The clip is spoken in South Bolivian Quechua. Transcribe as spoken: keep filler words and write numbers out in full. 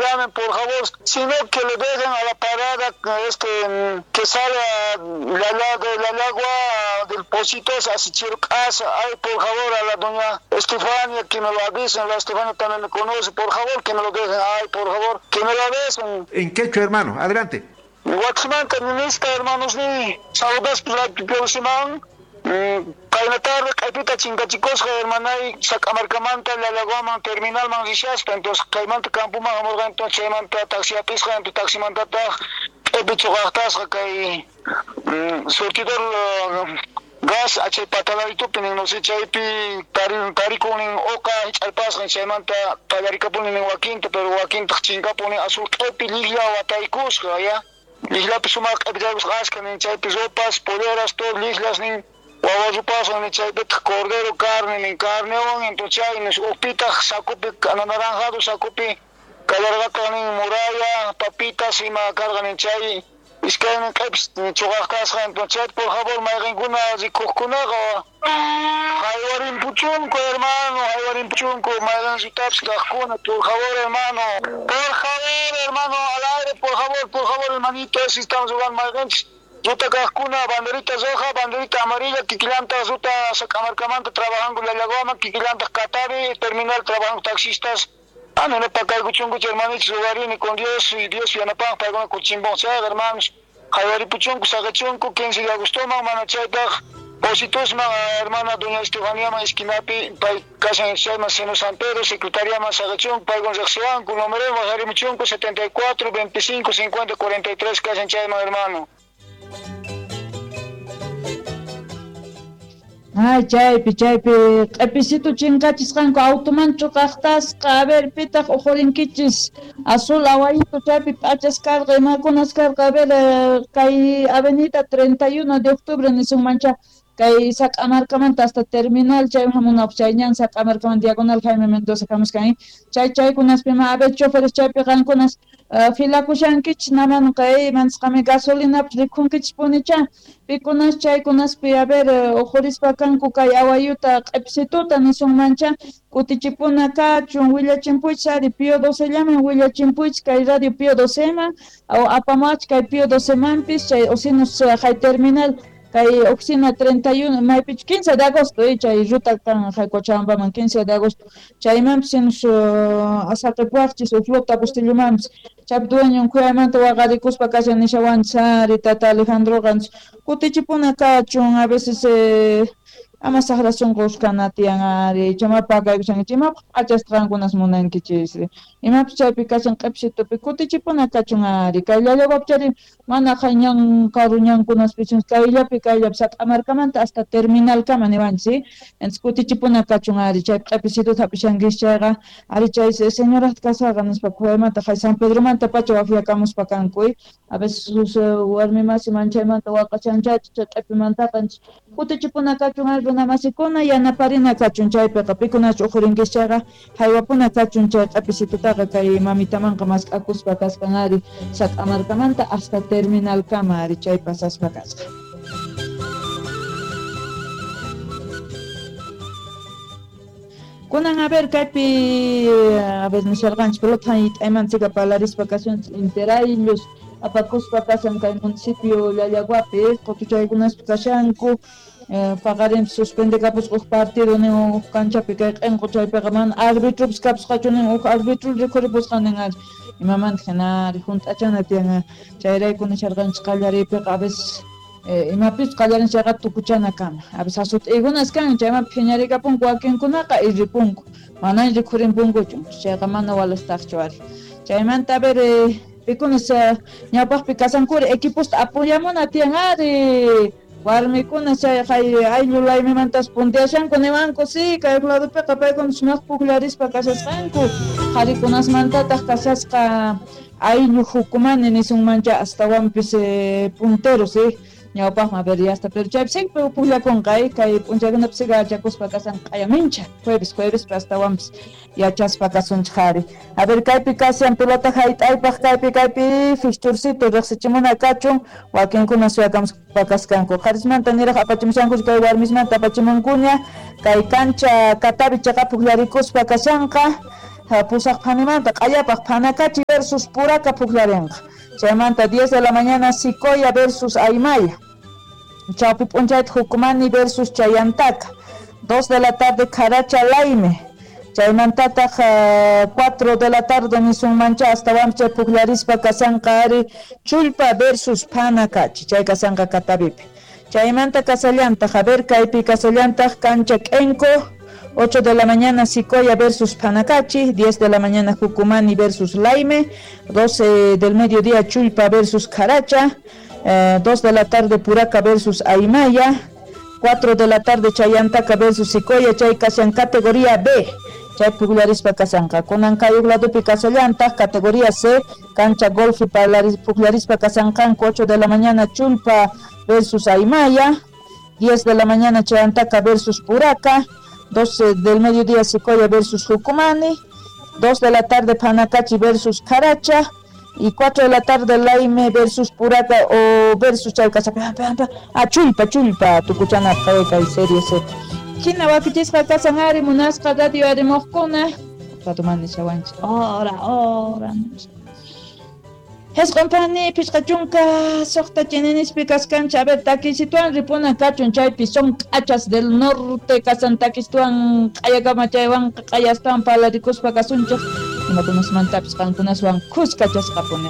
Llamen, por favor, sino que le dejen a la parada este que sale a la, la, de la agua del Pocito hacia Chircasa. Ay, por favor, a la doña Estefania, que me lo avisen. La Estefania también me conoce, por favor, que me lo dejen. Ay, por favor, que me lo avisen. En quechua, hermano, adelante. Guatemala, ministra, hermanos, ni saludos por la próxima. Kayna tarde, kaypita chinkachicosqa, hermanay, Sac'amarkamanta, Llallagwaman, terminalman rishaspa, entonces kaymanta campoman hamurqa, entonces chaymanta taxi apisqa, entonces taximantataq q'ipi chuqaqtasqa kay surtidor gas achay patalaritupi nin, no sé, chaypi tarikun nin uqa hich'arpasqa, chaymanta qallarikapuni nin wakinta, pero wakintaq chinkapuni azul q'ipi lliklla wataykusqa, ya llikllapi sumaq q'ipi chaykusqa ashka nin, chaypi ropas, poleras, todo lliklas nin. Wawa ni chaypitaq cordero carne nin carnewan, entonces chay nis uqpitaq sacupi anaranjado sacupi kallarqataq nin muralla, papitas ima karqa nin chay iskaynin q'ipis chuqaq kasqa, entonces chay por favor mayqinkuna rikuqkunaqa haywarinpuchunku hermano, haywarinpuchunku mayqin rutapis kaqkuna, por favor hermano, por favor hermano, al aire, por favor, por favor hermanito, así estamos jugando mayqinchis. Ruta kaqkuna, banderita roja, banderita amarilla, kikillanta ruta Sac'amarkamanta trabajanku Llallagwaman, kikillanta Catavi, terminal trabajanku taxistas. Ah, no, no, pakaykuchunkuchu hermanitos, rugarini con Dios y Dios yanapan, paykuna kuchimbon chayqa, hermanos. Haywaripuchunku, saqachunku, quince de agostoman, mana chaypaq, Positusman, hermana doña Estefaniaman, esquinapi, pay kashan chayman, Seno San Pedro, secretariaman saqachunku, paykuna riqsiwanku, número wajarimuchunku, setenta y cuatro, veinticinco, cincuenta, cuarenta y tres, kashan chayman, hermano. Ay, chaypi, chaypi, q'ipisitu chinkachisqanku automan chuqaqtasqa, a ver, pitaq ujurinkichis, azul awayito chaypi p'achas karqa, imakunas karqa, a ver, kay avenida treinta y uno de octubre nisunmancha, kay Sac'amarkamanta hasta terminal, chay hamunapaq chay ñan Sac'amarkamanta diagonal Jaime Mendoza hamuskan, chay chaykunaspima, a ver, choferes chaypi qankunas uh, filakushankichis naman kay mansqami gasolinapas rikhunkichis punicha, pikunas chaykunaspi, a ver, ujurispa kanku kay awayuta q'ipisituta nisunmancha, kutichipuna kachun, willachinpuychis ari Pío docellaman willachinpuychis kay radio Pío doceman, o apamach kay Pío docemanpis, chay osinus hay terminal kay oficina treinta y uno, maypich quince de agosto, eh, chay ruta kan hay Cochabambaman quince de agosto, chaymanpis sinus uh, asaqipuwaqchis uj flota Bustillomanpis, chaypi dueñon khuyaymanta waqarikuspa kashan nishawanchis ari tata Alejandroqa, kutichipuna kachun, a veces eh, ama saqra sunqus kana tiyan ari, chamapa kaykushankichis, imapaq p'achasqa qankunas munankichis, imapis chaypi kashan q'ipisitupi kutichipuna kachun ari, kay Llallagwapi chari mana qay ñan karu ñankunaspichu, kayllapi kayllapi Sac'amarkamanta hasta terminalkama niwanchis, entonces kutichipuna kachun ari, chay q'ipisituta hap'ishankichis chayqa, ari chay señorata kashaqa nispa khuyaymanta qay San Pedromanta pacha wafiakamuspa kanku, a veces warmi masi manchaymanta waqashanchachu chay q'ipimantaqa, kutichipuna kachun ari runa masikuna yanaparina kachun chaypiqa, pikunachu ujurinkichis chayqa haywapuna kachun chay q'ipisitutaqa kay mamitamanqa mask'akuspa kasqan ari Sac'amarkamanta hasta terminalkama ari chay pasaspa kasqa. Kunan a ver kaypi a ver nisharqanchis pelota hayt'aymanchika palarispa kashanchis interayllos apakuspa kashan kay municipio Llallagwapi qutuchaykunaspi kashanku, eh, paqarinpis suspendekapusqa uj partido nin uj kanchapi kay q'inqu chaypiqa mana arbitropis kapusqachu nin uj arbitro rikhuripusqa nin ari imamanta hina ari hunt'achana tiyan, chayrayku nisharqanchis qallariypiqa a veces eh, imapis qallarin chayqa tukuchana kama, a veces asut'iykunas kan chaymanpi phiñarikapunku wakinkunaqa y ripunku, mana rikhurinpunkuchu, chayqa mana walastaqchu ari. Chaymanta a ver eh, pikunas ñawpaqpi kasankuri equiposta apoyamuna tiyan ari, warmikuna chay hay ayllu laymimantas puntiashanku niwanku sí, kay ladopiqa paykuna sumaq pukllarispa kashasqanku, qharikunasmantataq kashasqa ayllu hukumani nisunmancha astawanpis eh, punteros eh, ñawpaqman a ver ya hasta pero chaypi siempre pukllakunqa eh, kay p'unchaykunapi siga yachakuspa kashan q'ayamincha jueves jueves astawanpis yachaspa kasunchik ari. A ver kaypi kashan pelota hayt'aypaq kaypi kaypi fixturcito riqsichimuna kachun wakinkuna suyakamuspa kasqanku, qharismanta niraq apachimushanku kay warmismanta apachimunkuña kay kancha Catavi chaqa pukllarikuspa kashanqa. Pusaq phanimanta q'allapaq Phanakachi versus Puraka pukllarinqa. Chaymanta diez de la mañana Sicoya versus Aymaya. Chawpi p'unchayta Jucumani versus Chayantaka. dos de la tarde Caracha Laime. Chaymantataq cuatro de la tarde nisunmancha astawanpas chay pukllarispa kasanqa ari Chullpa versus Phanakachi. Chay kasanqa Catavipi. Chaymanta kasallantaq, a ver kaypi kasallantaq cancha K'enko. ocho de la mañana Sicoya versus Phanakachi, diez de la mañana Jucumani versus Laime, doce del mediodía Chullpa versus Caracha, eh, dos de la tarde Puraca versus Aymaya, cuatro de la tarde Chayantaka versus Sicoya, chay kashan categoría B, chay pukllarispa kasanqa. Kunan kay uq ladopi kasallantaq categoría C, cancha golf pukllarispa kasanqanku ocho de la mañana Chullpa versus Aymaya, diez de la mañana Chayantaka versus Puraca, doce del mediodía Sicoya versus Jucumani, dos de la tarde Phanakachi versus Caracha y cuatro de la tarde Laime versus Puraca o versus Chalcasa. Ah, Chullpa, Chullpa, tukuchana kay serie C. Hina wakichisqa kasan ari munasqa radio arimuqkuna. Ratumani shawanchik. Ora, ora. Hesqon pani pichqa chunka suqta chininispi kaskanchik. A ver, takisituan ripuna kachun chaypi son k'achas del norte kasan takistuan q'ayakama chaywanqa q'ayastawan palarikuspa kasunchik. Imakunasmantapis qankunaswan kuska chasqapuni.